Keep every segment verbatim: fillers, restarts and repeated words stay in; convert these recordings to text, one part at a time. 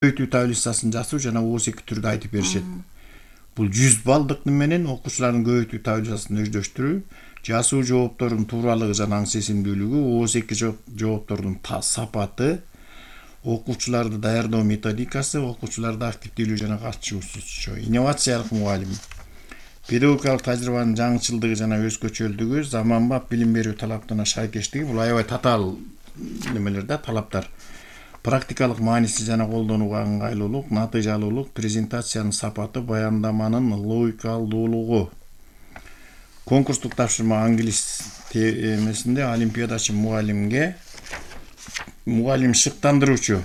көбөйтүү таблицасын жасоо жана оозеки түрдө айтып беришет. Бул жүз баллдык менен окуучулардын көбөйтүү таблицасын өздөштүрүү, жасоо жооптордун тууралыгы жана аң сезимдүүлүгү, оозеки жооптордун сапаты, окуучуларды даярдоо методикасы, окуучуларда активдүүлүгү жана катышуусу, инновациялык мугалим, педагогикалык тажрыйбанын жаңычылдыгы жана өзгөчөлүгү, заманбап билим берүү талаптарына шайкештиги, бул аябай татаал немелер да, талаптар. Практикалык мааниси жана колдонууга ыңгайлуулук, натыйжалуулук, презентациянын сапаты, баяндаманын логикалуулугу. Конкурстук тапшырма англис темесинде олимпиадачы мугалимге мугалим шыктандыруучу.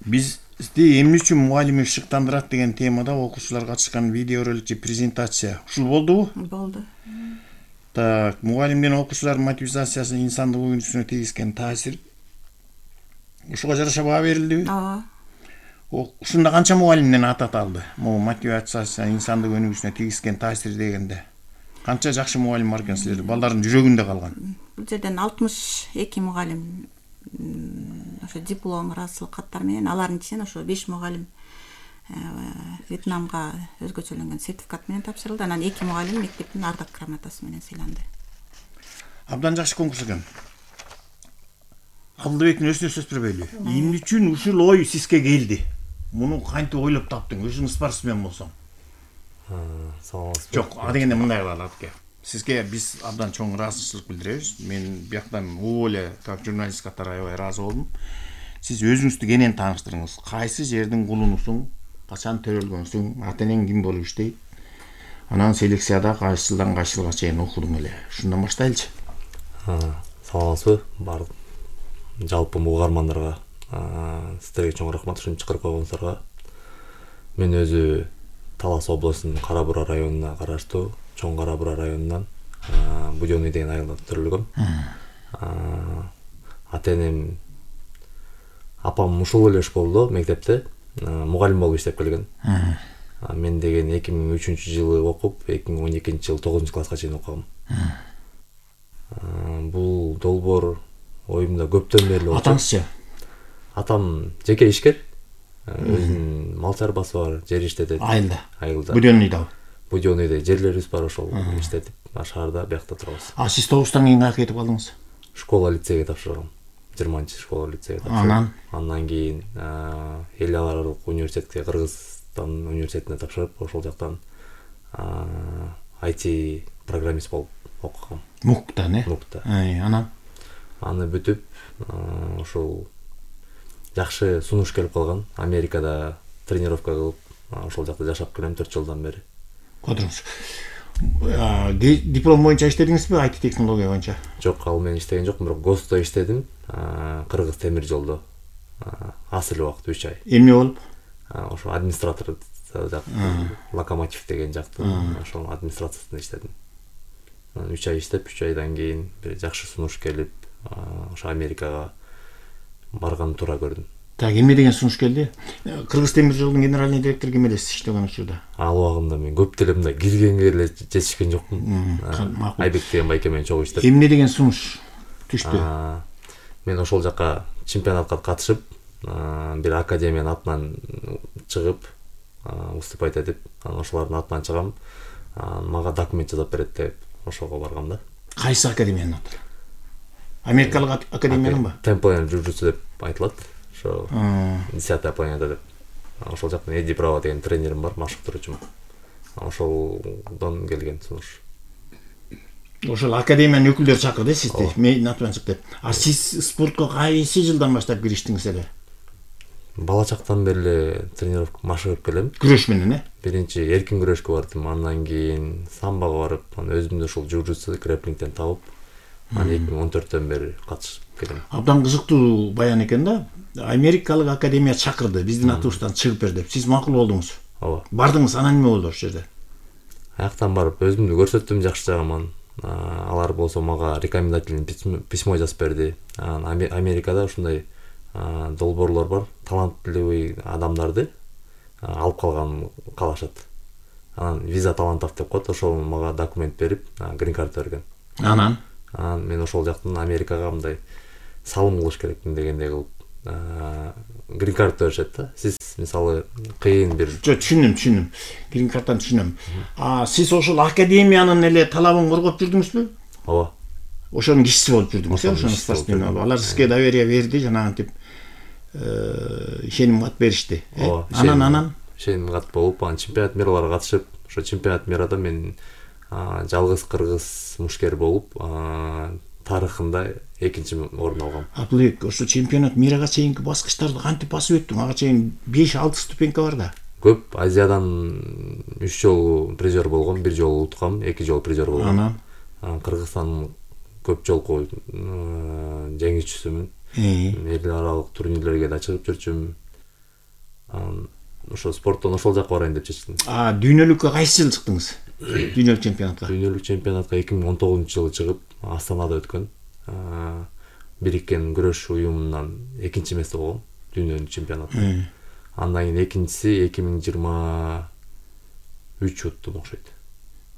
Бизди эмне үчүн мугалими шыктандырат деген темада окуучулар катышкан видеоролик же презентация. Ушул болдубу? Болду. Так, мугалимдин окуучулардын мотивациясы инсандык өнүгүүсүнө тийгизген таасир. Ушуга жараша баа берилдиби? Ооба. Ушунда канча мугалимден атат алды? Могу мотивациясы инсандык өнүгүүсүнө тийгизген таасир дегенде. Канча жакшы мугалим бар экен силерде? Балдардын жүрөгүндө калган. Бул жерден алтымыш эки мугалим ошо диплом, ыраазычылык каттар менен, алардын ичинен ошо беш мугалим Вьетнамга өзгөчөлөнгөн сертификат менен тапшырылды. Анан эки мугалим мектептин ардак грамотасы менен сыйланды. Абдан жакшы конкурс экен. Абдыбектин өзүнө сөз бербейлү. Эмне үчүн ушул ой сизге келди? Муну кантип ойлоп таптың? Өзүң спортсмен болсоң. Саламатсызбы? Жок, а дегенде мындай кылалы атке. Сизге биз абдан чоң ыраазычылык билдиребиз. Мен бияктан могу эле как журналист катары аябай ыраазы болдум. Сиз өзүңүздү кенен тааныштырыңыз. Кайсы жердин кулунусуң? Качан төрөлгөнсүң? Ата-энең ким болуп иштейт? Анан селекцияда кайсы жылдан кайсы жылга чейин окудуң эле. Ушундан баштайлычы. Саламатсызбы? Бар жалпы угармандарга сиздерге чоң рахмат ушинтип чакырып койгонуңуздарга. Мен өзү Талас областынын Кара Бура районуна караштуу Чоң Кара Бура районунан Будённый деген айылда төрөлгөм. Ата-энем, апам ушул эле школдо мектепте мугалим болуп иштеп келген. Мен деген эки миң үчүнчү жылы окуп, эки миң он экинчи жылы тогузунчу класска чейин окугам. Бул долбоор оюмда көптөн бери болчу. Атаңызчы? Атам жеке ишкер. Өзүнүн мал чарбасы бар, жер иштетет. Айылда. Айылда. Будённыйда. Будённыйда жерлерибиз бар, ошол иштетип, шаарда биякта турабыз. А сиз тогуздан кийин каяка кетип калдыңыз? Школа лицейге тапшыргам. жыйырманчы школа лицейге тапшырдым. Анан? Андан кийин эл аралык университетке, Кыргызстан университетине тапшырып, ошол жактан ай ти программист болуп окугам. Муктан, э? Мукта. Анан? Аны бүтүп, ошол жакшы сунуш келип калган. Америкада тренировка кылып, ошол жакта жашап келем төрт жылдан бери. Котуруңуз. Диплом боюнча иштедиңизби, ай ти технология боюнча? Жок, ал мен иштеген жокмун, бирок ГОСТо иштедим. Кыргыз темир жолдо. Асыл убакыт үч ай. Эмне болуп? Ошо администратор локомотив деген жакты. Ошол администрациясында иштедим. үч ай иштеп, үч айдан кийин бир жакшы сунуш келип, ошо Америкага барган туура көрдүм. Так, эмне деген сунуш келди? Кыргыз темир жолдун генеральный директору ким элесиз иштеген учурда? Ал убагында мен көп деле мындай киргенге эле жетишкен жокмун. Айбек деген байке менен чогуу иштеп. Эмне деген сунуш түштү? Мен ошол жака чемпионатка катышып, бир академиянын атынан чыгып, выступать этип, анан ошолордун атынан чыгам. Мага документ жазып берет деп ошого баргам да. Кайсы академиянын аты? Америкалык академиянын ба? Темплен жужутсу деп айтылат. Ошо десятая планета деп. Ошол жактан Эди Браво деген тренерим бар, машыктыруучум. Ошолдон келген сунуш. Ошол академиянын өкүлдөрү чакырды сизди, мен атынан чык деп. А сиз спортко кайсы жылдан баштап кириштиңиз эле? Бала чактан бери эле тренировка машыгып келем. Күрөш менен, э? Биринчи эркин күрөшкө бардым, андан кийин самбого барып, анан өзүмдү ушул жужутсу, грэпплингден табып, анан эки миң он төрттөн бери катышып келем. Абдан кызыктуу баян экен да. Америкалык академия чакырды, биздин атыбыздан чыгып бер деп. Сиз макул болдуңуз. Ооба. Бардыңыз, анан эмне болду ошол жерде? Аяктан барып өзүмдү көрсөттүм жакшы жагыман. Алар болсо мага рекомендательный письмо жазып берди. Америкада ушундай долбоорлор бар, талантливый адамдарды алып калган калашат. Анан виза талантов деп коет, ошол мага документ берип, грин карт берген. Анан? Анан мен ошол жактан Америкага мындай салым кылыш керекмин дегендей кылып грин карт беришет да. Сиз мисалы кыйын бир жо түшүндүм түшүндүм грин карттан түшүнөм. А сиз ошол академиянын эле талабын коргоп жүрдүңүзбү? ооба. Ошонун кишиси болуп жүрдүңүз, э, Ошонун ошонун кишиси болуп спортсмени жүрдүм. болуп. Алар сизге доверие берди, жанагынтип ишеним кат беришти. э? Ооба. Анан анан ишеним кат болуп, анан чемпионат мираларга катышып, ошо чемпионат мирада мен жалгыз кыргыз мушкер болуп, тарыхында экинчи орун алгам. Абылбек, ошо чемпионат мирага чейинки баскычтарды кантип басып өттүң? Ага чейин беш алты ступенька бар да. Көп Азиядан үч жолу призер болгом, бир жолу уткам, эки жолу призер болгом. Анан Кыргызстандын көп жолку жеңүүчүсүмүн. Эл аралык турнирлерге да чыгып жүрчүм. Ошо спорттон ошол жакка барайын деп чечтим. А дүйнөлүккө кайсы жылы чыктыңыз? Дүйнөлүк чемпионатка. Дүйнөлүк чемпионатка эки миң он тогузунчу жылы чыгып, Астанада өткөн. Бириккен күрөш уюмунан экинчи эмес болгом дүйнөлүк чемпионатта. Андан кийин экинчиси эки миң жыйырма үч өттүм окшойт.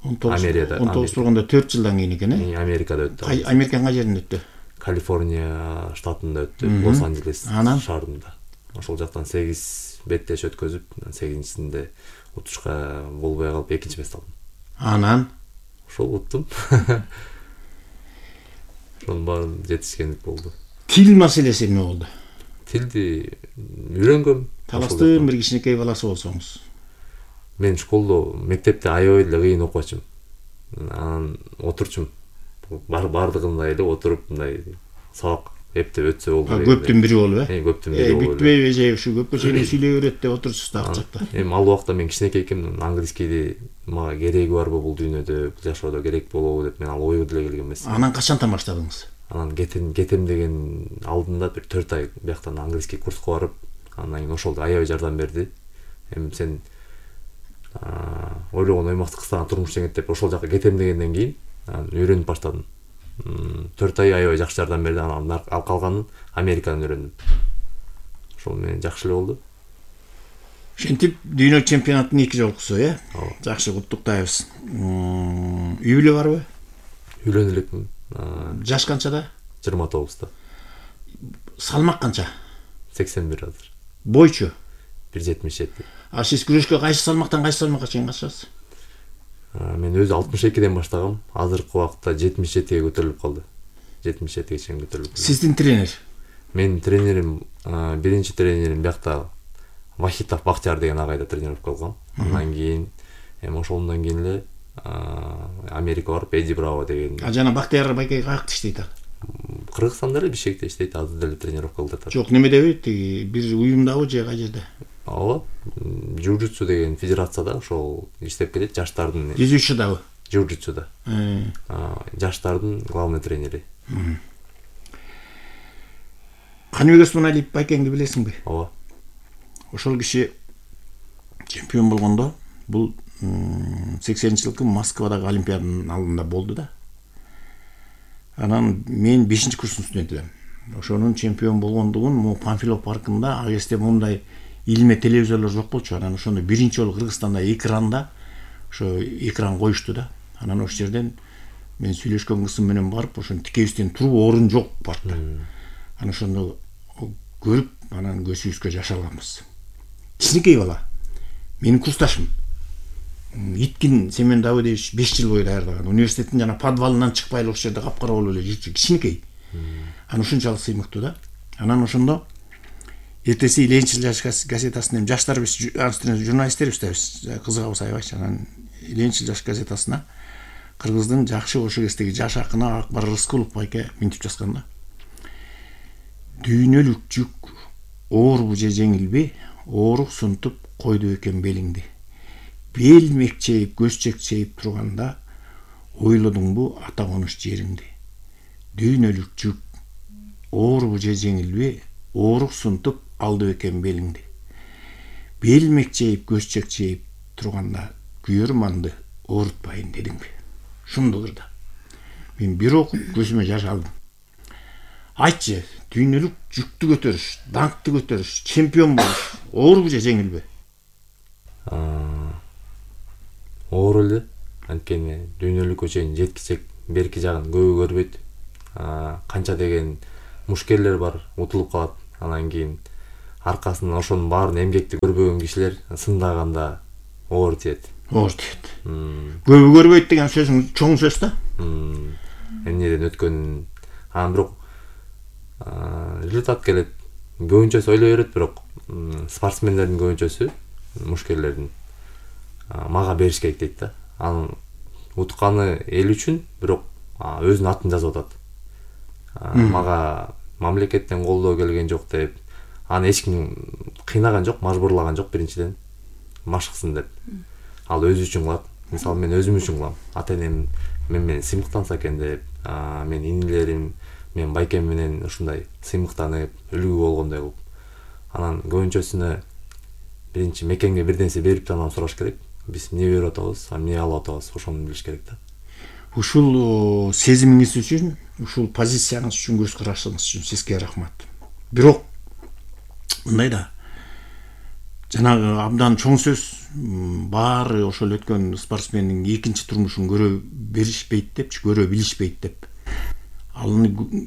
он тогуз болгондо төрт жылдан кийин экен, э? Америкада өттү. Американын кай жеринде өттү? Калифорния штатында өттү, Лос-Анджелес шаарында. Ошол жактан сегиз беттеш өткөзүп, сегизинчисинде утушка болбой калып экинчи эмес алдым. Анан ошол уттум. Ошонун баарын жетишкендик болду. Тил маселеси эмне болду? Тилди үйрөнгөм. Таластын бир кичинекей баласы болсоңуз. Мен школдо, мектепте аябай эле кыйын окуучум. Анан отурчум. Бар бардыгында эле отуруп мындай сабак эптеп өтсө болду. Көптүн бири болуп, э? Э, көптүн бири болуп. Бүтпөйбү же ушу көпкө чейин сүйлөй берет деп отурчусуз да акчакта. Эми ал убакта мен кичинекей экенмин, английскийди мага кереги барбы бул дүйнөдө, бул жашоодо керек болобу деп мен ал ою деле келген эмес. Анан качантан баштадыңыз? Анан кетем кетем деген алдында бир төрт ай бияктан английский курска барып, андан кийин ошол аябай жардам берди. Эми сен ойлогон оймакты кыстаган турмуш жеңет деп ошол жака кетем дегенден кийин үйрөнүп баштадым. төрт ай аябай жакшы жардам берди. Анан ал калганын Америкадан үйрөндүм. Ошол менен жакшы эле болду. Ошентип дүйнө чемпионаттын эки жолкусу, э? Жакшы, куттуктайбыз. Үй бүлө барбы? Үйлөнүп элекмин. Жаш канчада? жыйырма тогузда. Салмак канча? сексен бир азыр. Бойчу? бир жетимиш жети. А сиз күрөшкө кайсы салмактан кайсы салмакка чейин катышасыз? Мен өзү алтымыш экиден баштагам. Азыркы убакытта жетимиш жетиге көтөрүлүп калды. жетимиш жетиге чейин көтөрүлүп. Сиздин тренер? Менин тренерим, биринчи тренерим биякта Вахитов Бактияр деген агайда тренировка кылгам. Андан кийин эми ошондон кийин эле Америка барып Эди Браво деген. А жана Бактияр байкей каякта иштейт ал? Кыргызстанда эле Бишкекте иштейт, азыр деле тренировка кылып жатат. Жок, немедеби, тиги бир уюмдабы же кай жерде? Ооба, Жужутсу деген федерацияда ошол иштеп келет, жаштардын. Жүзүүчүдабы? Жужутсуда. Жаштардын главный тренери. Каныбек Осмоналиев байкеңди билесиңби? Ооба. Ошол киши чемпион болгондо, бул сексенинчи жылкы Москвадагы Олимпиаданын алдында болду да. Анан мен бешинчи курстун студенти элем. Ошонун чемпион болгондугун могу Панфилов паркында а кезде мындай илме телевизорлор жок болчу. Анан ошондо биринчи жолу Кыргызстанда экранда ошо экран коюшту да. Анан ошол жерден мен сүйлөшкөн кызым менен барып, ошону тикебизден туруп орун жок паркта. Анан ошондо көрүп, анан көзүбүзгө жаш алганбыз. Кичинекей бала. Менин курсташым. Иткин Семен Давыдович беш жыл бою даярдаган. Университеттин жана подвалынан чыкпай эле ошол жерде капкара болуп эле жүрчү, кичинекей. Анан ушунчалык сыймыктуу да. Анан ошондо эртеси Ленинчил жаш газетасына, жаштар биз журналисттербиз да, биз кызыгабыз аябайчы. Анан Ленинчил жаш газетасына Кыргыздын жакшы ошол кездеги жаш акыны Акбар Рыскулов байке минтип жазган да. Дүйнөлүк жүк оорбу же жеңилби, оорук сунтуп койду экен белиңди. Бел мекчейип, көз чекчейип турганда ойлодуңбу ата конуш жериңди. Дүйнөлүк жүк оорбу же жеңилби, оорук сунтуп алды экен белиңди. Бел мекчейип, көз чекчейип турганда күйөрманды оорутпайын дедиңби. Шундугур да. Мен бир окуп көзүмө жаш алдым. Айтчы, дүйнөлүк жүктү көтөрүш, даңкты көтөрүш, чемпион болуш оорбу же жеңилби? Оор эле. Анткени дүйнөлүккө чейин жеткичек берки жагын көбү көрбөйт. Канча деген мушкерлер бар, утулуп калат. Анан кийин аркасынан ошонун баарын эмгекти көрбөгөн кишилер сындаганда оор тиет. Оор тиет. Көбү көрбөйт деген сөзүң чоң сөз да. Эмнеден өткөнүн анан бирок результат келет. Көбүнчөсү ойлой берет, бирок спортсмендердин көбүнчөсү, мушкерлердин мага бериш керек дейт да. Анын утканы эл үчүн, бирок өзүнүн атын жазып атат. Мага мамлекеттен колдоо келген жок деп, аны эч ким кыйнаган жок, мажбурлаган жок биринчиден. Машыксын деп. Ал өзү үчүн кылат. Мисалы мен өзүм үчүн кылам. Ата-энем мен менен сыймыктанса экен деп, мен инилерим, мен байкем менен ушундай сыймыктанып, үлгү болгондой кылып. Анан көбүнчөсүнө биринчи мекенге бир нерсе берип анан сураш керек. Биз эмне берип атабыз, эмне алып атабыз, ошону билиш керек да. Ушул сезимиңиз үчүн, ушул позицияңыз үчүн, көз карашыңыз үчүн сизге рахмат. Бирок мындай да, жанагы абдан чоң сөз, баары ошол өткөн спортсмендин экинчи турмушун көрө беришпейт депчи, көрө билишпейт деп. Ал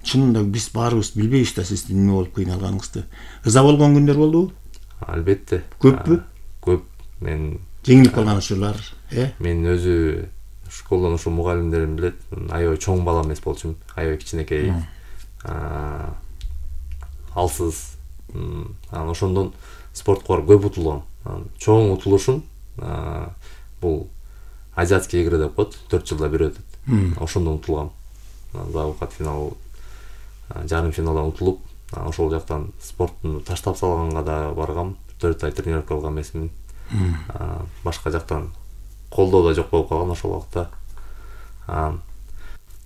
чынында биз баарыбыз билбейбиз да сиздин эмне болуп кыйналганыңызды. Ыза болгон күндөр болдубу? Албетте. Көппү? Көп. Мен жеңилип калган учурлар, э? Мен өзү школдон ошо мугалимдерим билет, аябай чоң бала эмес болчумун, аябай кичинекей, алсыз. Анан ошондон спортко барып көп утулгам. Чоң утулушум бул азиатский игры деп коет, төрт жылда бир өтөт. Ошондон утулгам. Завукат финал, жарым финалдан утулуп, ошол жактан спорттун таштап салганга да баргам, төрт ай тренировка кылган эмесмин. Башка жактан колдоо да жок болуп калган ошол убакта.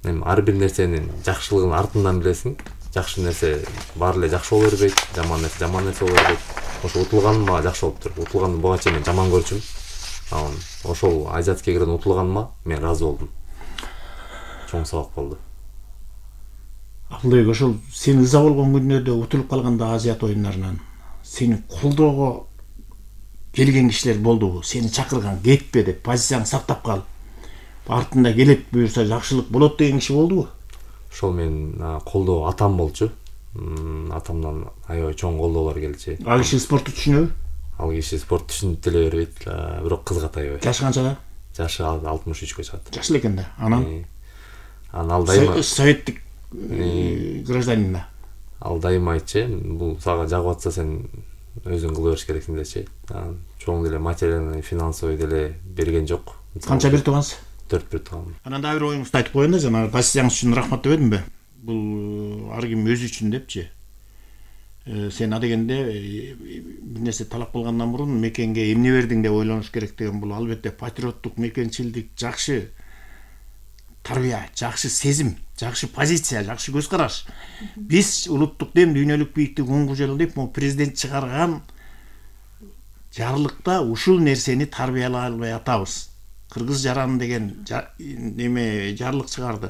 Эми ар бир нерсенин жакшылыгын артынан билесиң. Жакшы нерсе баары эле жакшы боло бербейт, жаман нерсе жаман нерсе боло бербейт. Ошо утулганым мага жакшы болуптур. Утулганды буга чейин мен жаман көрчүм. Анан ошол азиатский иградан утулганыма мен ыраазы болдум. Чоң сабак болду. Абылбек, ошол сен ыза болгон күндөрдө утулуп калганда Азиат оюндарынан сени колдоого келген кишилер болдубу? Сени чакырган, кетпе деп, позицияңды сактап кал. Артында келет буюрса жакшылык болот деген киши болдубу? Ошол мен колдоо атам болчу. Атамдан аябай чоң колдоолор келчү. Ал киши спортты түшүнөбү? Ал киши спорт түшүнүп деле бербейт, бирок кызыгат аябай. Жашы канчада? Жашы алтымыш үчкө чыгат. Жаш эле экен да. Анан анан ал дайыма советтик гражданин да. Ал дайыма айтчы, бул сага жагып атса сен өзүң кыла бериш керексиң дечи. Чоң деле материальный, финансовый деле берген жок. Канча бир туугансыз? төрт бир тууган. Анан дагы бир оюңузду айтып коеюн да, жана позицияңыз үчүн рахмат деп эдимби? Бул ар ким өзү үчүн депчи. Сен адегенде бир нерсе талап кылгандан мурун мекенге эмне бердиң деп ойлонуш керек деген, бул албетте патриоттук, мекенчилдик, жакшы тарбия, жакшы сезим, жакшы позиция, жакшы көз караш. Биз улуттук дем, дүйнөлүк бийиктик он жыл деп президент чыгарган жарлыкта ушул нерсени тарбиялай албай атабыз. Кыргыз жараны деген неме жарлык чыгарды.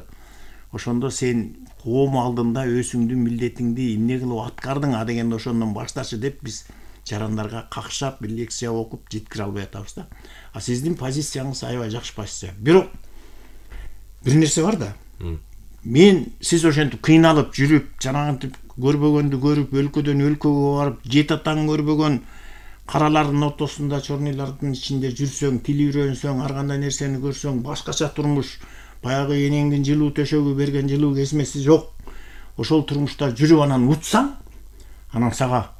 Ошондо сен коом алдында өзүңдүн милдетиңди эмне кылып аткардың а дегенде ошондон башташы деп биз жарандарга какшап, бир лекция окуп жеткире албай атабыз да. А сиздин позицияңыз аябай жакшы позиция. Бирок бир нерсе бар да. Мен сиз ошентип кыйналып жүрүп, жанагынтип көрбөгөндү көрүп, өлкөдөн өлкөгө барып, жет атаң көрбөгөн каралардын ортосунда, чорныйлардын ичинде жүрсөң, тил үйрөнсөң, ар кандай нерсени көрсөң, башкача турмуш, баягы энеңдин жылуу төшөгү берген жылуу кезмеси жок. Ошол турмушта жүрүп анан утсаң, анан сага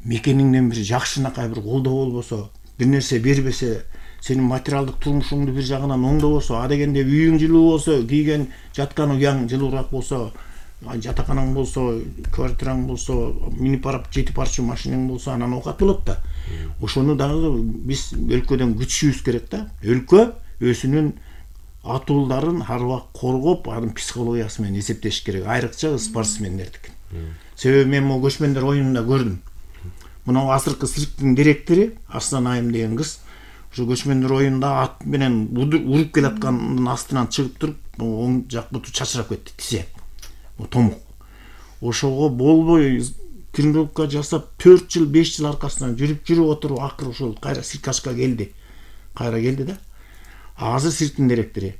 мекениңден бир жакшынакай бир колдоо болбосо, бир нерсе бербесе, сенин материалдык турмушуңду бир жагынан оңдобосо, а дегенде үйүң жылуу болсо, кийген жаткан уяң жылуураак болсо, жатаканаң болсо, квартираң болсо, минип барып жети парча машинаң болсо, анан оокат болот да. Ошону дагы биз өлкөдөн күтүшүбүз керек да. Өлкө өзүнүн атуулдарын ар убакыт коргоп, анын психологиясы менен эсептеш керек, айрыкча спортсмендердики. Себеби мен могу көчмөндөр оюнунда көрдүм. Мына азыркы цирктин директори Аслан Айым деген кыз ошо көчмөндөр оюнунда ат менен уруп келаткандын астынан чыгып туруп, оң жак буту чачырап кетти, тизе. Томук. Ошого болбой тренировка жасап төрт жыл, беш жыл аркасынан жүрүп жүрүп отуруп, акыры ошол кайра Сиркашка келди. Кайра келди да. Азыр цирктин директору.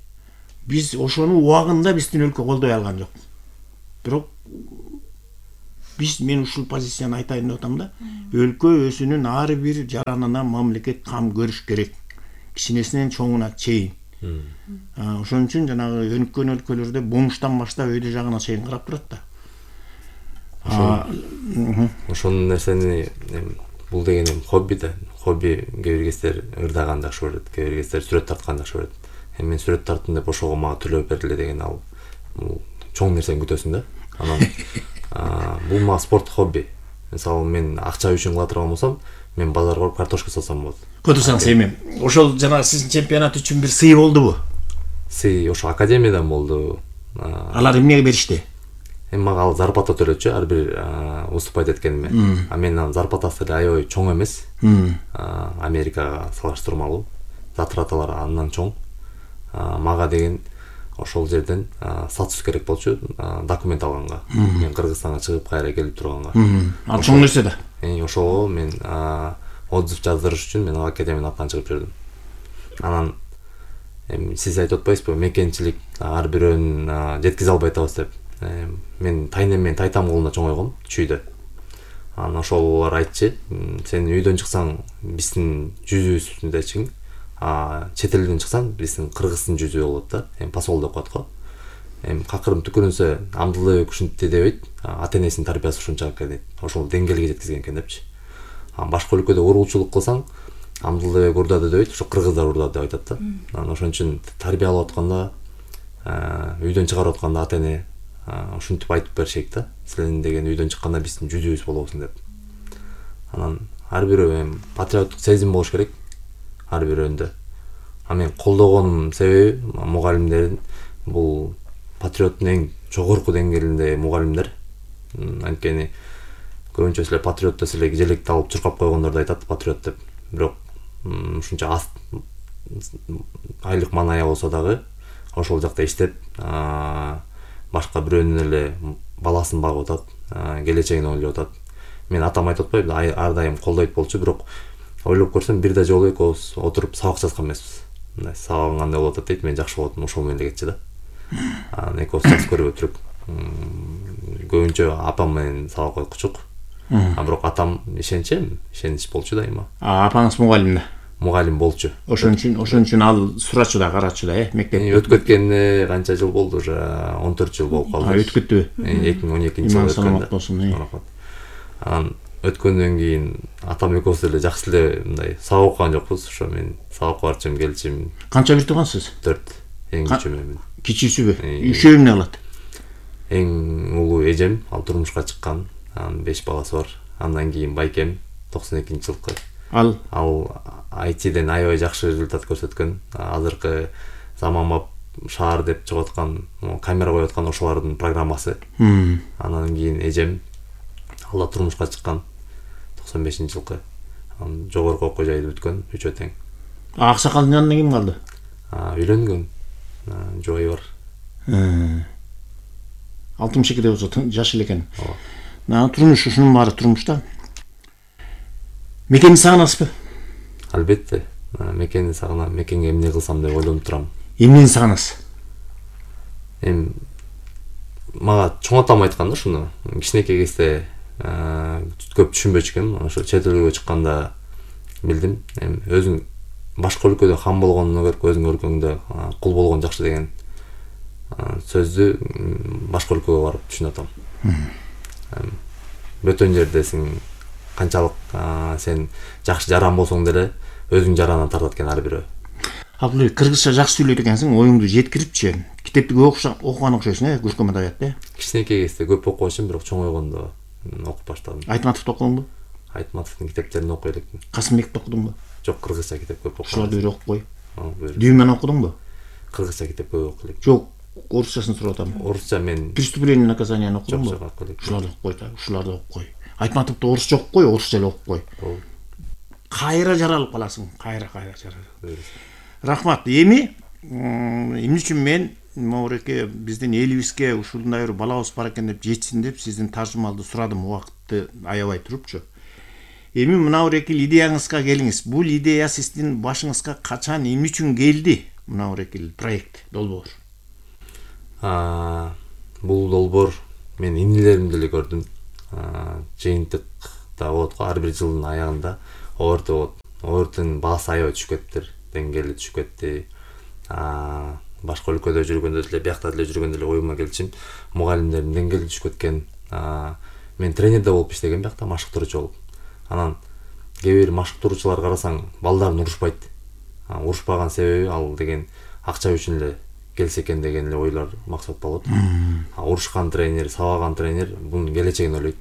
Биз ошону убагында биздин өлкө колдой алган жок. Бирок биз мен ушул позицияны айтайын деп атам да. Өлкө өзүнүн ар бир жаранына мамлекет кам көрүш керек. Кичинесинен чоңуна чейин. Ошон үчүн жанагы өнүккөн өлкөлөрдө бомуштан баштап өйдө жагына чейин карап турат да. Ошол нерсени бул деген эми хобби да. Хобби кээ бир кездер ырдаган жакшы көрөт, кээ бир кездер сүрөт тарткан жакшы көрөт. Эми мен сүрөт тарттым деп ошого мага төлөп бериле деген ал бул чоң нерсени күтөсүң да. Анан бул мага спорт хобби. Мисалы мен акча үчүн кыла турган болсом, мен базарга барып картошка сатсам болот. Котурсаңыз эми ошол жанагы сиздин чемпионат үчүн бир сый болдубу? Сый ошо академиядан болду. Алар эмнеге беришти? Эми мага ал зарплата төлөчү ар бир выступать эткениме. А менин зарплатасы деле аябай чоң эмес. Америкага салыштырмалуу. Затраталар андан чоң. Мага деген ошол жерден статус керек болчу документ алганга. Мен Кыргызстанга чыгып кайра келип турганга. Ал чоң нерсе да. Эми ошого мен отзыв жаздырыш үчүн мен академиянын атынан чыгып жүрдүм. Анан эми сиз айтып атпайсызбы, мекенчилик ар бирөөнүн жеткизе албай атабыз деп. Мен тайнем менен тайтам колунда чоңойгом чүйдө. Анан ошолор айтчы, сен үйдөн чыксаң биздин жүзүбүздүн а чет элден чыксаң биздин кыргыздын жүзү болот да. Эми посол деп коет го. Эми какырым түкүрүнсө Амдылбек ушинтти дебейт, ата-энесинин тарбиясы ушунча экен дейт. Ошол деңгээлге жеткизген экен депчи. Анан башка өлкөдө урулчулук кылсаң, Амдылбек урдады дебейт, ошо кыргыздар урдады деп айтат да. Анан ошон үчүн тарбия алып атканда, үйдөн чыгарып атканда ата-эне ушинтип айтып беришет да. Силердин деген үйдөн чыкканда биздин жүзүбүз болобусуң деп. Анан ар бирөө эми патриоттук сезим болуш керек. Ар бирөөндө. А мен колдогонум себеби мугалимдердин бул патриоттун эң жогорку деңгээлинде мугалимдер. Анткени көбүнчө силер патриот десилер желекти алып чуркап койгондорду айтат патриот деп. Бирок ушунча аз айлык маная болсо дагы ошол жакта иштеп, башка бирөөнүн эле баласын багып атат, келечегин ойлоп атат. Мен атам айтып атпайбы, ар дайым колдойт болчу, бирок ойлоп көрсөм бир да жолу экөөбүз отуруп сабак жазган эмеспиз. Мындай сабагың кандай болуп атат дейт, мен жакшы болот, ошол менен эле кетчү да. Анан экөөбүз жакшы көрүп өтүрүп, көбүнчө апам менен сабак окучук. А бирок атам ишенчем, ишенич болчу дайыма. А апаңыз мугалим да? Мугалим болчу. Ошон үчүн, ошон үчүн ал сурачу да, карачу да, э, мектепте. Өтүп кеткенине канча жыл болду, уже он төрт жыл болуп калды. А өтүп кеттиби? эки миң он экинчи жылы өткөн. Анан өткөндөн кийин атам экөөбүз деле жакшы эле мындай сабак окуган жокпуз, ошо мен сабакка барчым, келчим. Канча бир туугансыз? төрт. Эң кичүүмүн мен. Кичүүсүбү? Үчөө эмне кылат? Эң улуу эжем, ал турмушка чыккан, анын беш баласы бар. Андан кийин байкем токсон экинчи жылкы. Ал ал ай тиден аябай жакшы результат көрсөткөн. Азыркы заманбап шаар деп чыгып аткан, камера коюп аткан ошолордун программасы. Андан кийин эжем ал да турмушка чыккан токсон бешинчи жылкы. Анан жогорку окуу жайды бүткөн, үчөө тең. Аксакалдын жанында ким калды? Үйлөнгөн. Жобой бар. алтымыш экиде болсо жаш эле экен. Турмуш ушунун баары турмушта. Мекени сагынасызбы? Албетте. Мекени сагынам, мекенге эмне кылсам деп ойлонуп турам. Эмнени сагынасыз? Эми мага чоң атам айткан да ушуну. Кичинекей кезде көп түшүнбөчү экенмин. Ошо чет элге чыкканда билдим. Эми өзүң башка өлкөдө хан болгондон көрө өзүң өлкөңдө кул болгон жакшы деген сөздү башка өлкөгө барып түшүнүп атам. Бөтөн жердесиң, канчалык сен жакшы жаран болсоң деле өзүң жарандан тартат экен ар бирөө. Абдулбек, кыргызча жакшы сүйлөйт экенсиң, оюңду жеткирипчи. Китепти көп окуган окшойсуң, э, көркөм адабиятты. Кичинекей кезде көп окубачым, бирок чоңойгондо окуп баштадым. Айтматовду окудуңбу? Айтматовдун китептерин окуй элекмин. Касымбекти окудуңбу? Жок, кыргызча китеп көп окудум. Ушуларды бир окуп кой. Ой. Дүймөн окудуңбу? Кыргызча китеп көп окуй элек. Жок, орусчасын сурап атам. Орусча мен Преступление и наказание окудуңбу? Жок, окуй элек. Ушуларды окуп кой да, ушуларды окуп кой. Айтматовду орусча окуп кой, орусча эле окуп кой. Кайра жаралып каласың, кайра кайра жаралып. Рахмат. Эми эмне үчүн мен могуреке биздин элибизге ушундай бир балабыз бар экен деп жетсин деп сиздин тажымалды сурадым, убакытты аябай турупчу. Эми мынауреки идеяңызга келиңиз. Бул идея сиздин башыңызга качан, эмне үчүн келди? Мынауреки проект долбоор. А бул долбоор мен инилеримди эле көрдүм. жыйынтыкта болот го, ар бир жылдын аягында оберт болот. Оберттин баасы аябай түшүп кетиптир, деңгээли түшүп кетти. Башка өлкөдө жүргөндө деле, биякта деле жүргөндө деле оюма келчүм, мугалимдердин деңгээли түшүп кеткен. Мен тренерде болуп иштегем биякта, машыктыруучу болуп. Анан кээ бир машыктыруучулар карасаң, балдарын урушпайт. Урушпаган себеби ал деген акча үчүн эле келсе экен деген эле ойлор максат болот. Урушкан тренер, сабаган тренер бунун келечегин ойлойт.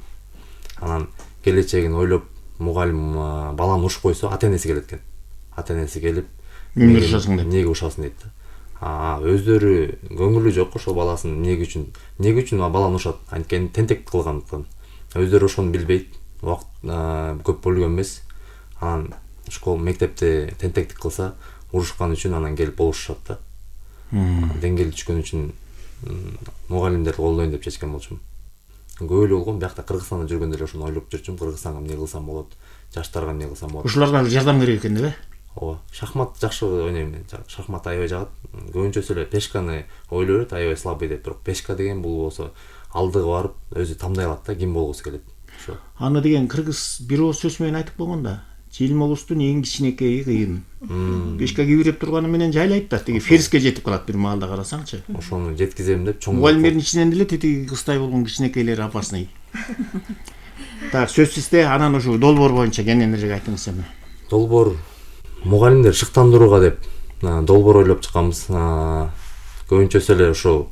Анан келечегин ойлоп, мугалим баланы урушуп койсо, ата-энеси келет экен. Ата-энеси келип, эмне урушасың деп. Эмнеге урушасың дейт да. Өздөрү көңүлү жок ошо баласын эмнеге үчүн, эмнеге үчүн баланы урушат? Анткени тентек кылгандыктан. Өздөрү ошону билбейт, убакыт көп болгон эмес. Анан школ, мектепте тентектик кылса, урушкан үчүн анан келип болушушат да. Деңгээли түшкөн үчүн мугалимдерди колдойн деп чечкен болчумун. Көп эле болгон, биякта Кыргызстанда жүргөндө эле ошону ойлоп жүрчүм. Кыргызстанга эмне кылсам болот, жаштарга эмне кылсам болот. Ушуларга жардам керек экен деп. Ооба, шахмат жакшы ойнойм мен. Шахмат аябай жагат. Көбүнчөсү эле пешканы ойлой берет, аябай слабый деп. Бирок пешка деген бул болсо алдыга барып өзү тамдай алат да, ким болгусу келет. Ошо. Аны деген кыргыз бир ооз сөз менен айтып болгонда, Желмолустун эң кичинекейи кыйын. Пешка кибиреп турганы менен жайлайт да, тиги фериске жетип калат бир маалда карасаңчы. Ошону жеткизем деп чоң. Мугалимдердин ичинен деле тетиги кыздай болгон кичинекейлер опасный. Так, сөзсүздө анан ушу долбоор боюнча кенен эле айтыңыз эми. Долбоор мугалимдер шыктандырууга деп долбоор ойлоп чыкканбыз. Көбүнчөсү эле ошо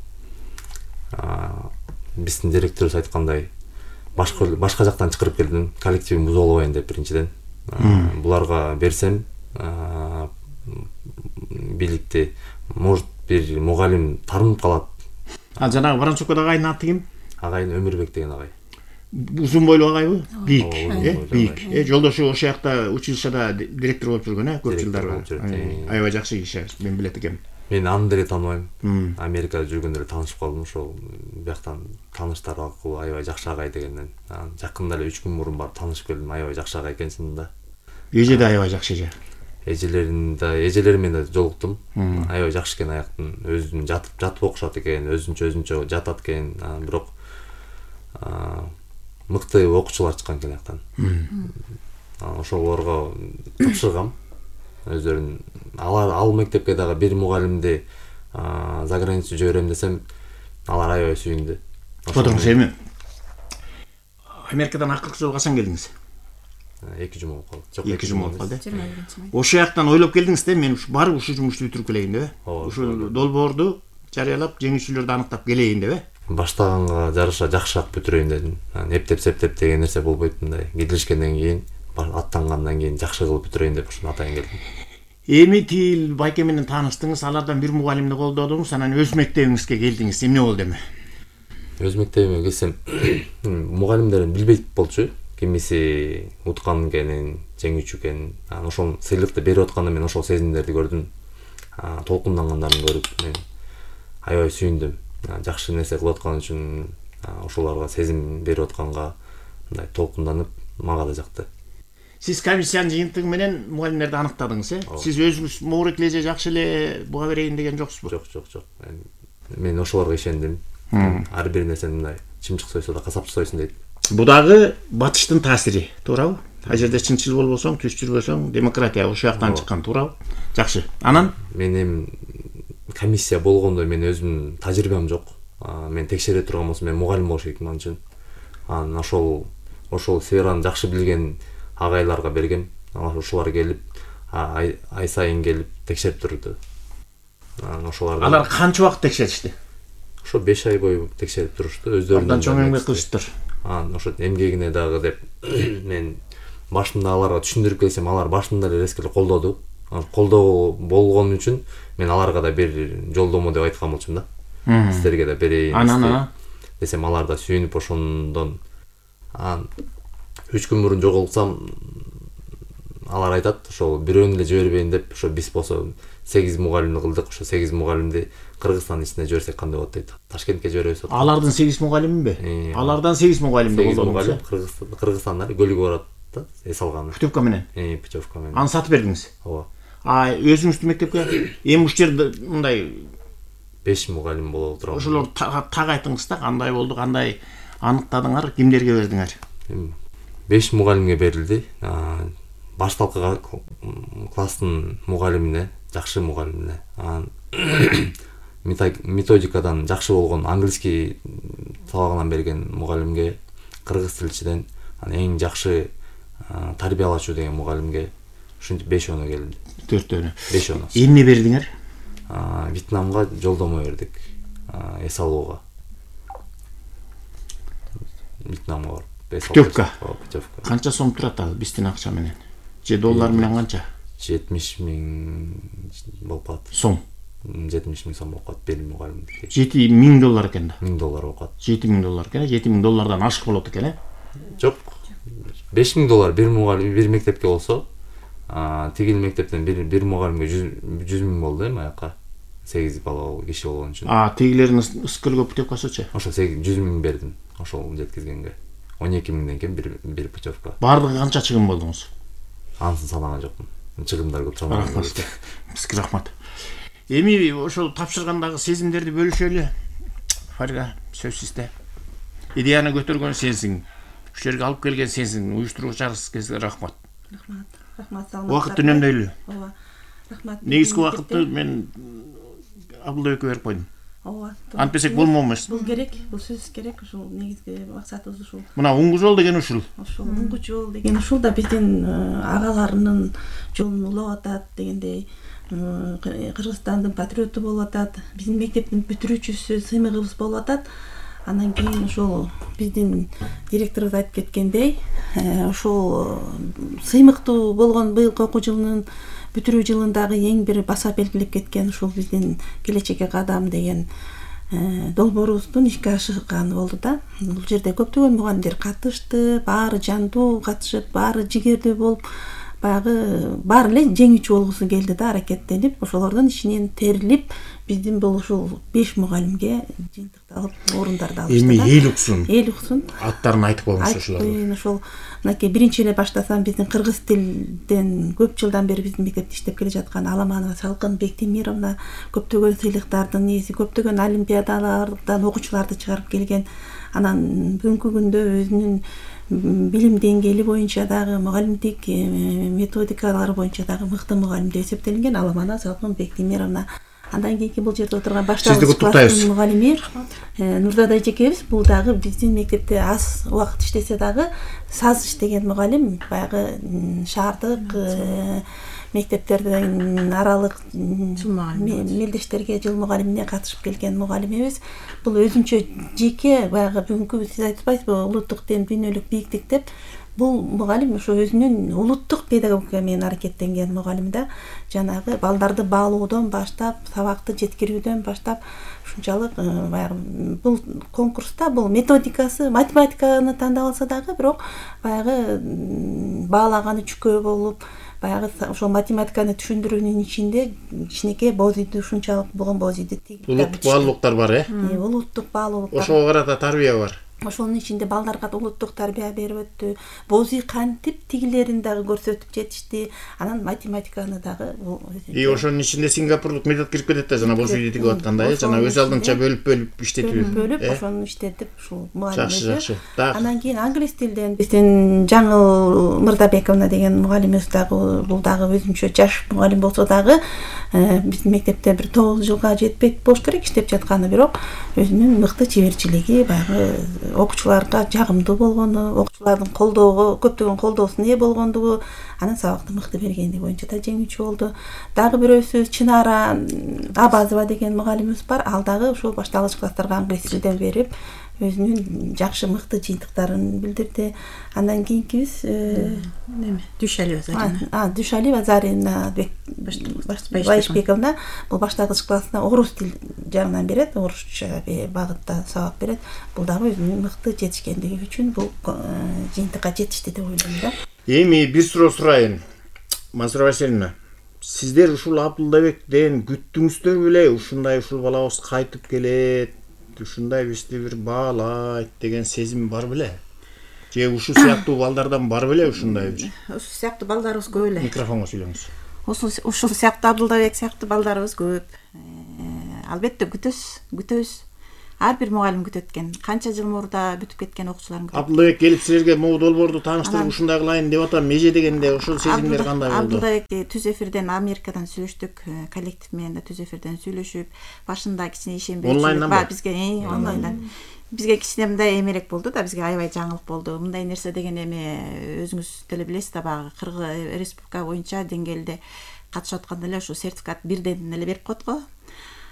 биздин директорубуз айткандай, башка башка жактан чакырып келдим, коллективин бузуп албайын деп биринчиден. Буларга берсем, бийликти, может бир мугалим тарынып калат. А жанагы Воронцовкодогу агайдын аты ким? Агайын Өмүрбек деген агай. Узун бойлуу агайбы? Бийик, э, бийик. Э, жолдошу ошол жакта училищада директор болуп жүргөн, э, көп жылдар. Аябай жакшы киши, мен билет экенмин. Мен аны деле тааныбайм. Америкада жүргөндө эле таанышып калдым, ошол бияктан тааныштар аркылуу аябай жакшы агай дегенден. Жакында эле үч күн мурун барып таанышып келдим, аябай жакшы агай экен чынында. Эже да аябай жакшы эже. Эжелерин да, эжелери менен да жолуктум. Аябай жакшы экен аяктын, өзүн жатып жатып окушат экен, өзүнчө өзүнчө жатат экен, бирок мыкты окуучулар чыккан экен аяктан. Ошолорго тапшыргам. Өздөрүн алар ал мектепке дагы бир мугалимди за границу жиберем десем, алар аябай сүйүндү. Отуруңуз эми. Америкадан акыркы жолу качан келдиңиз? эки жума болуп калды. Жок, эки жума болуп калды. жыйырма биринчи май. Ошол жактан ойлоп келдиңиз да, мен ушу барып ушу жумушту бүтүрүп келейин деп. Ушу долбоорду жарыялап, жеңүүчүлөрдү аныктап келейин деп. Баштаганга жараша жакшыраак бүтүрөйүн дедим. Эптеп септеп деген нерсе болбойт, мындай киришкенден кийин, аттангандан кийин жакшы кылып бүтүрөйүн деп ушуну атайын келдим. Эми тил байке менен тааныштыңыз, алардан бир мугалимди колдодуңуз, анан өз мектебиңизге келдиңиз. Эмне болду эми? Өз мектебиме келсем, мугалимдерин билбейт болчу. Кимиси уткан экенин, жеңүүчү экенин, анан ошол сыйлыкты берип атканда мен ошол сезимдерди көрдүм. Толкундангандарын көрүп мен аябай сүйүндүм. Жакшы нерсе кылып аткан үчүн ошолорго сезим берип атканга мындай толкунданып, мага да жакты. Сиз комиссиянын жыйынтыгы менен мугалимдерди аныктадыңыз, э? Сиз өзүңүз моорек эле жакшы эле буга берейин деген жоксузбу? Жок, жок, жок. Мен ошолорго ишендим. Ар бир нерсени мындай чымчык сойсо да касапчы сойсун дейт. Бу дагы батыштын таасири, туурабы? Ал жерде чынчыл болбосоң, түз жүрбөсөң, демократия ошол жактан чыккан, туурабы? Жакшы. Анан мен эми комиссия болгондо мен өзүмдүн тажрыйбам жок. Мен текшере турган болсом, мен мугалим болуш керекмин ал үчүн. Анан ошол ошол сфераны жакшы билген агайларга бергем. Ошолор келип, ай сайын келип текшерип турду. Анан ошолар алар канча убакыт текшеришти? Ошо беш ай бою текшерип турушту, өздөрүнүн. Андан чоң эмгек кылыштыр. Анан ошо эмгегине дагы деп мен башында аларга түшүндүрүп келсем, алар башында эле резко колдоду. Колдоо болгон үчүн мен аларга да бир жолдомо деп айткан болчумун да. Сиздерге да берейин. Анан десем, алар да сүйүнүп ошондон анан үч күн мурун жоголсам, алар айтат, ошол бирөөнү эле жибербейин деп, ошо биз болсо сегиз мугалимди кылдык, ошо сегиз мугалимди Кыргызстандын ичине жиберсек кандай болот дейт. Ташкентке жиберебиз. Алардын сегиз мугалимиби? Алардан сегиз мугалимди колдодуңуз. Кыргызстан, Кыргызстанда көлүгү барат да, эс алганы. Путевка менен. Э, путевка менен. Аны сатып бердиңиз. Ооба. А өзүңүздүн мектепке эми ушул жерде мындай беш мугалим боло турган. Ошолор так айтыңыз да, кандай болду, кандай аныктадыңар, кимдерге бердиңер? беш мугалимге берилди. Башталкы класстын мугалимине, жакшы мугалимине, анан методикадан жакшы болгон английский сабагынан берген мугалимге, кыргыз тилчиден анан эң жакшы тарбиялачу деген мугалимге ушинтип беш оно келди. Төртөөнө. беш оно. Эмне бердиңер? Вьетнамга жолдомо бердик. Эс алууга. Вьетнамга барып. Путевка. Канча сом турат ал биздин акча менен? Же доллар менен канча? жетимиш миң болуп калат. Сом. жетимиш миң сом болуп калат бир мугалим. жети миң доллар экен да. миң доллар болуп калат. жети миң доллар экен, жети миң доллардан ашык болот экен, э? Жок. беш миң доллар бир мугалим бир мектепке болсо, тигил мектептен бир бир мугалимге жүз миң болду эми аяка. сегиз бала киши болгон үчүн. А, тигилердин ыскыргы путевкасычы? Ошо жүз миң бердим. Ошол жеткизгенге. он эки миңден кем бир бир путевка. Бардыгы канча чыгым болдуңуз? Ансын санаган жокмун. Чыгымдар көп чамаа. Рахмат. Бизге рахмат. Эми ошол тапшыргандагы сезимдерди бөлүшөлү. Фарга, сөз сизде. Идеяны көтөргөн сенсиң. Ушул жерге алып келген сенсиң. Уюштуруучуңарга рахмат. Рахмат. Рахмат. Убакыт үнөмдөйлү. Ооба. Рахмат. Негизги убакытты мен Абдулбекке берип койдум. Ооба. Антпесек болмомуш. Бул керек, бул сөз керек, ушул негизги максатыбыз ушул. Мына уңгу жол деген ушул. Ушул уңгу жол деген ушул да биздин агаларынын жолун улап атат дегендей, Кыргызстандын патриоту болуп атат, биздин мектептин бүтүрүүчүсү, сыймыгыбыз болуп атат. Андан кийин ушул биздин директорубуз айтып кеткендей, ушул сыймыктуу болгон быйылкы окуу жылынын бүтүрүү жылындагы эң бир баса белгилеп кеткен ушул биздин келечекке кадам деген долбоорубуздун ишке ашырганы болду да. Бул жерде көптөгөн мугалимдер катышты, баары жандуу катышып, баары жигердүү болуп, баягы баары эле жеңүүчү болгусу келди да, аракеттенип, ошолордун ичинен терилип, биздин бул ушул беш мугалимге жыйынтыкталып, орундарды алышты да. Эми эл уксун. Эл уксун. Аттарын айтып коюңуз ошолорду. Ошол мынакей биринчи эле баштасам биздин кыргыз тилден көп жылдан бери биздин мектепте иштеп келе жаткан Аламанова Салкын Бектемировна көптөгөн сыйлыктардын ээси, көптөгөн олимпиадалардан окуучуларды чыгарып келген. Анан бүгүнкү күндө өзүнүн билим деңгээли боюнча дагы, мугалимдик методикалары боюнча дагы мыкты мугалим деп эсептелинген Аламанова Салкын Бектемировна. Андан кийинки бул жерде отурган башталгыч класстын мугалими Нурзада эжекебиз, бул дагы биздин мектепте аз убакыт иштесе дагы саз иштеген мугалим, баягы шаардык мектептерден аралык мелдештерге жыл мугалимине катышып келген мугалимибиз. Бул өзүнчө жеке баягы бүгүнкү сиз айтпайсызбы, улуттук дем, дүйнөлүк бийлик деп, бул мугалим ошо өзүнүн улуттук педагогика менен аракеттенген мугалим да. Жанагы балдарды баалоодон баштап, сабакты жеткирүүдөн баштап ушунчалык баягы бул конкурста бул методикасы математиканы тандап алса дагы, бирок баягы баалаганы чүкөө болуп, баягы ошол математиканы түшүндүрүүнүн ичинде кичинекей бозийди ушунчалык болгон бозийди тигип улуттук баалуулуктар бар, э? Улуттук баалуулуктар. Ошого карата тарбия бар. Ошонун ичинде балдарга улуттук тарбия берип өттү. Бозий кантип тигилерин дагы көрсөтүп жетишти. Анан математиканы дагы. И ошонун ичинде сингапурлук метод кирип кетет да, жана бозийди тигип атканда, э, жана өз алдынча бөлүп-бөлүп иштетүү. Бөлүп, ошону иштетип, ушул мугалим. Жакшы, жакшы. Андан кийин англис тилден биздин Жаңыл Мырдабековна деген мугалимибиз дагы, бул дагы өзүнчө жаш мугалим болсо дагы, биздин мектепте бир тогуз жылга жетпек болуш керек иштеп жатканы, бирок өзүнүн мыкты чеберчилиги, баягы окуучуларга жагымдуу болгону, окуучулардын колдоого, көптөгөн колдоосуна ээ болгондугу, анын сабакты мыкты бергендиги боюнча да жеңүүчү болду. Дагы бирөөсү Чынара Абазова деген мугалимибиз бар. Ал дагы ошол башталгыч класстарга англис тилден берип, өзүнүн жакшы мыкты жыйынтыктарын билдирди. Андан кийинкибиз неме? Дүйшалиева Зарина. А, Дүйшалиева Зарина Байышбековна бул башталгыч классына орус тил жагынан берет, орусча багытта сабак берет. Бул дагы өзүнүн мыкты жетишкендиги үчүн бул жыйынтыкка жетишти деп ойлойм да. Эми бир суроо сурайын. Мансура Васильевна, сиздер ушул Абдулбектен күттүңүздөр беле? Ушундай ушул балабыз кайтып келет, ушундай бизди бир баалайт деген сезим бар беле? Же ушул сыяктуу балдардан бар беле ушундай бир? Ушул сыяктуу балдарыбыз көп эле. Микрофонго сүйлөңүз. Ушул сыяктуу Абдулбек сыяктуу балдарыбыз көп. Албетте күтөбүз, күтөбүз. ар бир мугалим күтөт экен. Канча жыл мурда бүтүп кеткен окуучуларын күтөт. Абдулбек келип силерге могу долбоорду тааныштырып ушундай кылайын деп атам. Меже дегенде ошол сезимдер кандай болду? Абдулбек түз эфирден Америкадан сүйлөштүк, коллектив менен да түз эфирден сүйлөшүп, башында кичине ишенбей онлайндан бизге онлайндан бизге кичине мындай эмерек болду да, бизге аябай жаңылык болду. Мындай нерсе деген эми өзүңүз деле билесиз да, баягы Кыргыз республика боюнча деңгээлде катышып атканда эле ушу сертификат бирден эле берип коет го.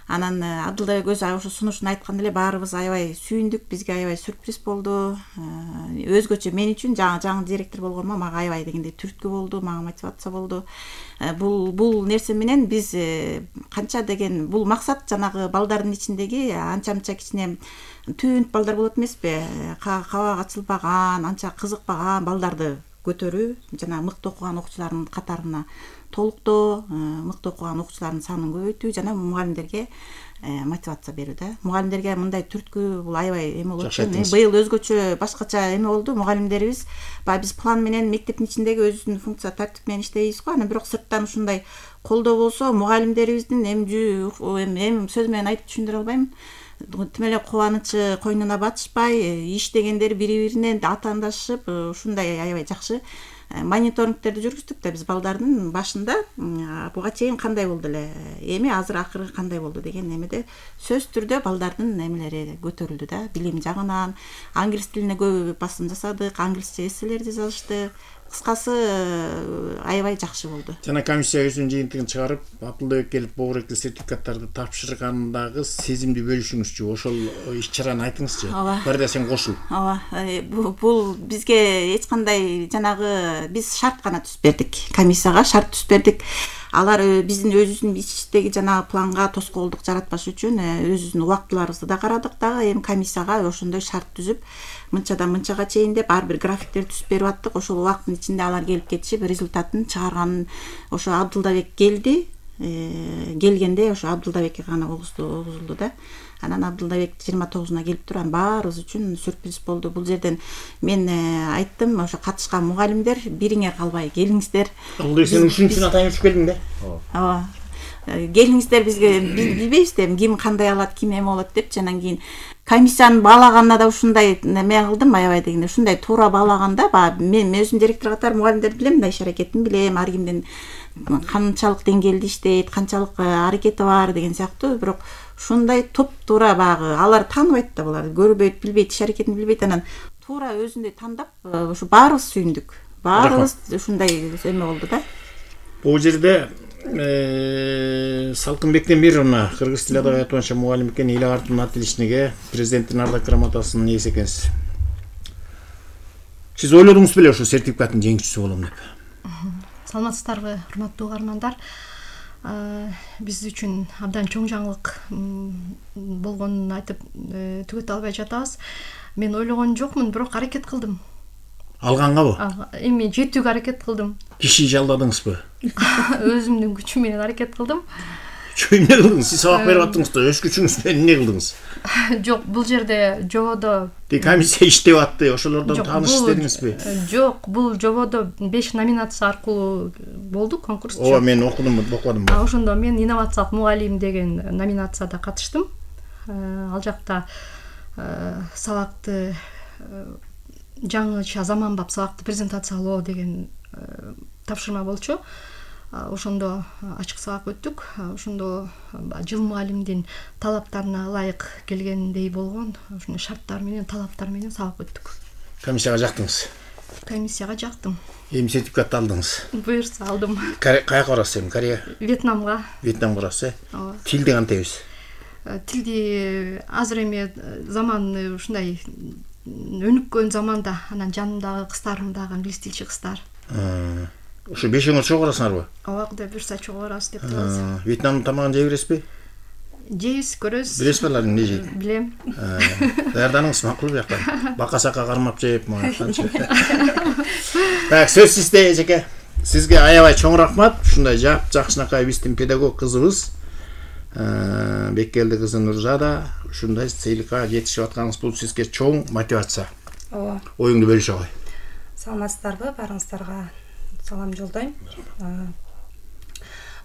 Анан Абдулбек өзү ошо сунушун айтканда эле баарыбыз аябай сүйүндүк, бизге аябай сюрприз болду. Өзгөчө мен үчүн жаңы жаңы директор болгоныма мага аябай дегенде түрткү болду, мага мотивация болду. Бул бул нерсе менен биз канча деген бул максат жанагы балдардын ичиндеги анча-мынча кичине түнт балдар болот эмеспи? Кабак ачылбаган, анча кызыкпаган балдарды көтөрүү, жана мыкты окуган окуучулардын катарына толуктоо, мыкты окуган окуучулардын санын көбөйтүү жана мугалимдерге мотивация берүү да. Мугалимдерге мындай түрткү бул аябай эме болот экен. Быйыл өзгөчө башкача эме болду. Мугалимдерибиз баягы биз план менен мектептин ичиндеги өзүнүн функция тартип менен иштейбиз го. Анан бирок сырттан ушундай колдоо болсо, мугалимдерибиздин эми эми сөз менен айтып түшүндүрө албайм. Тим эле кубанычы койнуна батышпай, иш дегендер бири-бирине атаандашып, ушундай аябай жакшы мониторингтерди жүргүздүк да биз балдардын башында буга чейин кандай болду эле, эми азыр акыры кандай болду деген эмеде сөзсүз түрдө балдардын эмелери көтөрүлдү да, билим жагынан. Англис тилине көп басым жасадык, англисче эсселерди жазышты. Кыскасы аябай жакшы болду. Жана комиссия өзүнүн жыйынтыгын чыгарып, Абдулбек келип богуректи сертификаттарды тапшыргандагы сезимди бөлүшүңүзчү, ошол иш-чараны айтыңызчы. Бир да сен кошул. Ооба, бул бизге эч кандай жанагы биз шарт гана түзүп бердик. Комиссияга шарт түзүп бердик. Алар биздин өзүбүздүн иштеги жанагы планга тоскоолдук жаратпаш үчүн өзүбүздүн убактыларыбызды да карадык дагы. Эми комиссияга ошондой шарт түзүп, мынчадан мынчага чейин деп ар бир графиктер түзүп берип аттык. Ошол убакыттын ичинде алар келип кетишип, результатын чыгарганын ошо Абдулбек келди. Келгенде ошо Абдулбекке гана огузулду да. Анан Абдулбек жыйырма тогузуна келип туруп, баарыбыз үчүн сюрприз болду. Бул жерден мен айттым, ошо катышкан мугалимдер бириңер калбай келиңиздер. Абдулбек сен үчүнчүн атайын өчүп келдиң да? Ооба. Келиңиздер, бизге билбейбиз да ким кандай алат, ким эме болот депчи. Анан кийин комиссияны баалаганда да ушундай эме кылдым, аябай дегенде ушундай туура баалаганда, баягы мен өзүм директор катары мугалимдерди билем да, иш аракетин билем, ар кимдин канчалык деңгээлде иштейт, канчалык аракети бар деген сыяктуу. Бирок ушундай топ-туура баягы алар тааныбайт да, булар көрбөйт, билбейт, иш аракетин билбейт. Анан туура өзүндөй тандап, ушу баарыбыз сүйүндүк. Баарыбыз ушундай эме болду да. Бул жерде Салкынбектен бир мына кыргыз тили адабият боюнча мугалим экен, Эл артын ат илишине президенттин ардак грамотасынын ээси экенсиз. Сиз ойлодуңуз беле ошо сертификаттын жеңүүчүсү болом деп? Саламатсыздарбы, урматтуу угармандар. Биз үчүн абдан чоң жаңылык болгонун айтып түгөтө албай жатабыз. Мен ойлогон жокмун, бирок аракет кылдым. Алгангабы? Эми жетүүгө аракет кылдым. Киши жалдадыңызбы? Өзүмдүн күчүм менен аракет кылдым. Чүй эмне кылдыңыз? Сиз сабак берип аттыңыз да, өз күчүңүз менен эмне кылдыңыз? Жок, бул жерде жободо комиссия иштеп атты, ошолордон тааныш издедиңизби? Жок, бул жободо беш номинация аркылуу болду конкурс. Ооба, мен окудум, окудум. Ошондо мен инновациялык мугалим деген номинацияда катыштым. Ал жакта сабакты жаңыча заманбап сабакты презентациялоо деген тапшырма болчу. Ошондо ачык сабак өттүк. Ошондо жыл мугалимдин талаптарына ылайык келгендей болгон ошондой шарттар менен, талаптар менен сабак өттүк. Комиссияга жактыңыз? Комиссияга жактым. Эми сертификатты алдыңыз? Буюрса алдым. Каяка барасыз эми? Корея? Вьетнамга. Вьетнамга барасыз, э? Ооба. Тилди кантайбыз? Тилди азыр эми заман ушундай өнүккөн заманда, анан жанымдагы кыздарым дагы англис тилчи кыздар. Ошо бешөөңөр чогуу барасыңарбы? Ооба, кудай буюрса чогуу барабыз деп турабыз. Вьетнамдын тамагын жей бересизби? Жейбиз, көрөбүз. Билесизби алар эмне жейт? Билем. Даярданыңыз макул бияктан. Бака-сака кармап жеп мага. Так, сөз сизде эжеке. Сизге аябай чоң рахмат. Ушундай жап жакшынакай биздин педагог кызыбыз Беккелди кызы Нурзада ушундай сыйлыкка жетишип атканыңыз бул сизге чоң мотивация. Ооба. Оюңду бөлүшө кой. Саламатсыздарбы? Баарыңыздарга салам жолдойм.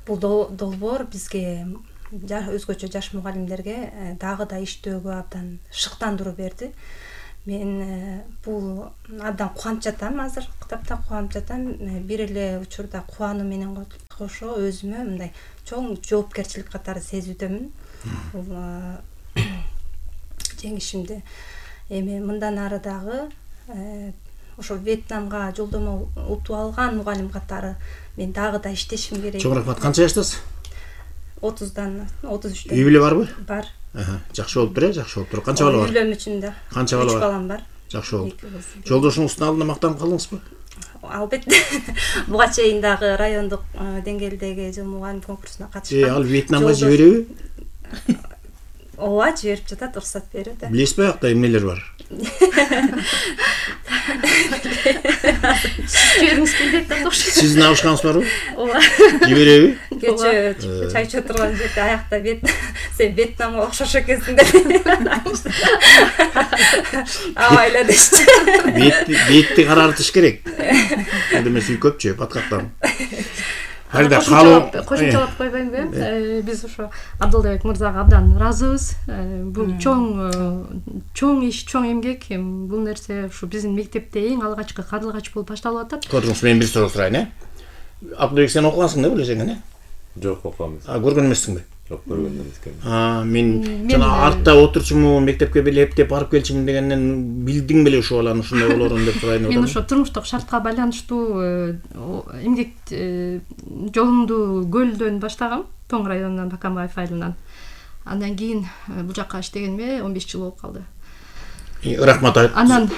Бул долбоор бизге өзгөчө жаш мугалимдерге дагы да иштөөгө абдан шыктандыруу берди. Мен бул абдан кубанып жатам, азыр китапта кубанып жатам. Бир эле учурда кубануу менен кошо өзүмө мындай чоң жоопкерчилик катары сезүүдөмүн. Бул жеңишимди. Эми мындан ары дагы ошо Вьетнамга жолдомо утуп алган мугалим катары мен дагы да иштешим керек. Чоң рахмат. Канча жаштасыз? отуздан, отуз үчтөн. Үй бүлө барбы? Бар. Аха, жакшы болуптур, э, жакшы болуптур. Канча бала бар? Үйлөнмүчүмдө. Канча бала үч бар? балам бар. Жакшы болду. Жолдошуңуздун алдында мактанып калдыңызбы? Албетте. Буга чейин дагы райондук деңгээлдеги жыл мугалим конкурсуна катышкан. Э, ал Вьетнамга жибереби? Ооба, жиберип жатат, уруксат берет. Билесизби, аякта эмнелер бар? Жибергиңиз келбейт да окшойт. Сиздин абышкаңыз барбы? Ооба. Жибереби? Кечээ чай ичип турган жерде аякта бет сен Вьетнамга окшош экенсиң деп. Абайла дешти. Бетти, бетти карартыш керек. Анда эмес үй көпчү, баткактан. Фарида, калуу кошумчалап койбоймунбу? Биз ошо Абдылбек мырзага абдан ыраазыбыз. Бул чоң чоң иш, чоң эмгек. Бул нерсе ушу биздин мектепте эң алгачкы кадылгач болуп башталып атат. Көрдүңүз, мен бир суроо сурайын, э? Абдылбек, сен окугансың да, билесең, э? Жок, окугам. А, көргөн эмессиңби? Жок, көргөн эмесмин. А, мен жана артта отурчумун, мектепке бир эптеп барып келчимин дегенден билдиң беле ушул баланы ушундай болорун деп сурайын деп Мен атам. ошо турмуштук шартка байланыштуу эмгек жолумду Көлдөн баштагам, Тоң районунан, Бакамбаев айылынан. Андан кийин бул жакка иштегениме он беш жыл болуп калды. Рахмат айт. Анан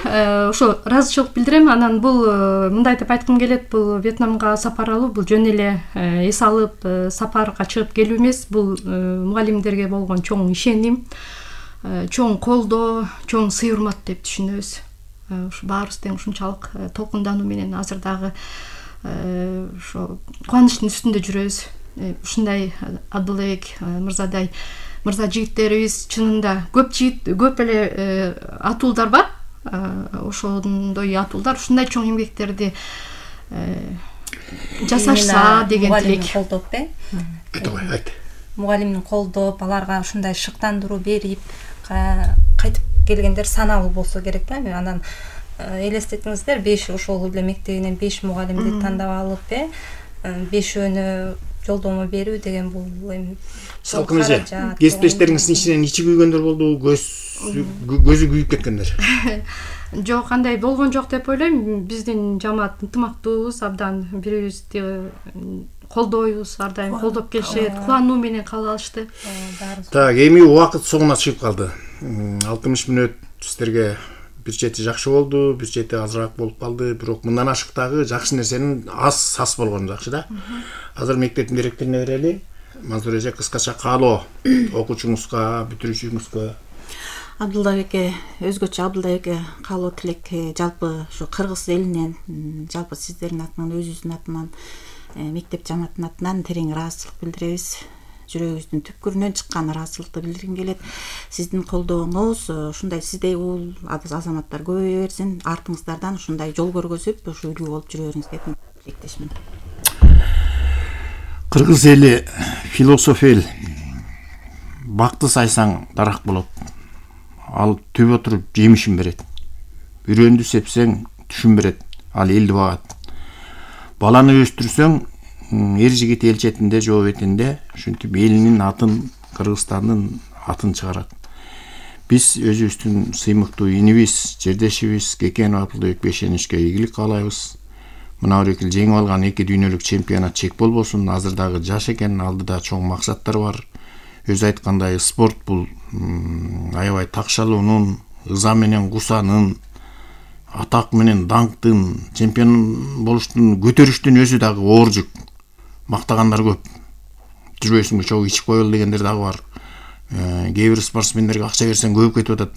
ошо ыраазычылык билдирем. Анан бул мындай деп айткым келет, бул Вьетнамга сапар алуу бул жөн эле эс алып сапарга чыгып келүү эмес, бул мугалимдерге болгон чоң ишеним, чоң колдоо, чоң сый урмат деп түшүнөбүз. Ушу баарыбыз тең ушунчалык толкундануу менен азыр дагы ошо кубанычтын үстүндө жүрөбүз. Ушундай Абдылбек мырзадай мырза жигиттерибиз чынында көп жигит, көп эле атуулдар бар. Ошондой атуулдар ушундай чоң эмгектерди жасашса деген тилек. Колдоп, э? Айт, айт. Мугалимдин колдоп, аларга ушундай шыктандыруу берип, кайтып келгендер саналуу болсо керек да. Анан элестетиңиздер, беш ошол эле мектебинен беш мугалимди тандап алып, э, бешөөнү жолдомо берүү деген бул эми салкын эже. Кесиптештериңиздин ичинен ичи күйгөндөр болду, көз көзү күйүп кеткендер. Жок, андай болгон жок деп ойлойм. Биздин жамаат ынтымактуубуз, абдан бири-бирибизди колдойбуз, ар дайым колдоп келишет, кубануу менен кабыл алышты. Так, эми убакыт соңуна чыгып калды. алтымыш мүнөт сиздерге бир чети жакшы болду, бир чети азыраак болуп калды, бирок мындан ашыктагы жакшы нерсенин аз сас болгону жакшы да. Азыр мектептин директоруна берели. Мансур эже, кыскача каалоо окуучуңузга, бүтүрүүчүңүзгө. Абдылбекке, өзгөчө Абдылбекке каалоо тилек, жалпы ушу кыргыз элинен, жалпы сиздердин атынан, өзүбүздүн атынан, мектеп жамаатынын атынан терең ыраазычылык билдиребиз. Жүрөгүбүздүн түпкүрүнөн чыккан ыраазычылыкты билдиргим келет. Сиздин колдооңуз ушундай сиздей ул азаматтар көбөйө берсин, артыңыздардан ушундай жол көргөзүп, ушу үлгү болуп жүрө бериңиз деп тилектешмин. Кыргыз эли философ эл. Бакты сайсаң дарак болот. Ал түбө туруп жемишин берет. Үрөндү сепсең түшүн берет. Ал элди багат. Баланы өстүрсөң эр жигит эл четинде, жоо бетинде, ушинтип элинин атын, Кыргызстандын атын чыгарат. Биз өзүбүздүн сыймыктуу инибиз, жердешибиз Кекенов Абдылбек Бешеничке ийгилик каалайбыз. Мына бир эки жеңип алган эки дүйнөлүк чемпионат чек болбосун, азыр дагы жаш экен, алдыда чоң максаттар бар. Өзү айткандай, спорт бул аябай такшалуунун, ыза менен кусанын, атак менен даңктын, чемпион болуштун, көтөрүштүн өзү дагы оор жүк. Мактагандар көп. Жүрбөйсүңбү, чогуу ичип коелу дегендер дагы бар. Кээ бир спортсмендерге акча берсең көбүп кетип атат.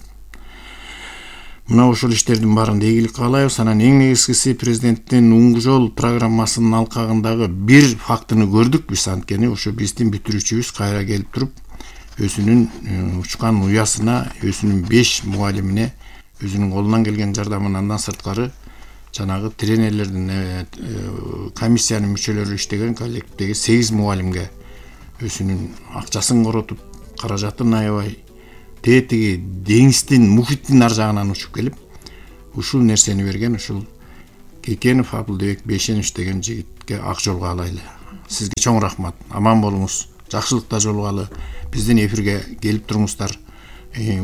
Мына ушул иштердин баарында ийгилик каалайбыз. Анан эң негизгиси президенттин Уңгу жол программасынын алкагындагы бир фактыны көрдүк биз, анткени ошо биздин бүтүрүүчүбүз кайра келип туруп, өзүнүн учкан уясына, өзүнүн беш мугалимине өзүнүн колунан келген жардамын, андан сырткары жанагы тренерлердин комиссиянын мүчөлөрү иштеген коллективдеги сегиз мугалимге өзүнүн акчасын коротуп, каражатын аябай тетиги деңиздин, мухиттин ар жагынан учуп келип, ушул нерсени берген ушул Кекенов Абылдыбек Бейшенович деген жигитке ак жолго алайлы. Сизге чоң рахмат. Аман болуңуз. Жакшылыкта жолугалы. Биздин эфирге келип туруңуздар.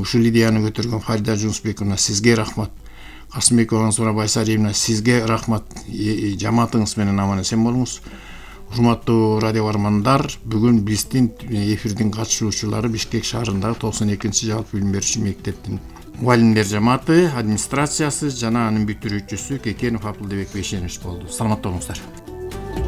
Ушул идеяны көтөргөн Фарида Жунусбековна сизге рахмат. Касымбекова Аңсура Байсариевна сизге рахмат. Жамаатыңыз менен аман эсен болуңуз. Урматтуу радио бармандар, бүгүн биздин эфирдин катышуучулары Бишкек шаарындагы токсон экинчи жалпы билим берүүчү мектептин мугалимдер жамааты, администрациясы жана анын бүтүрүүчүсү Кекенов Абылдыбек Бейшенович болду. Саламатта болуңуздар.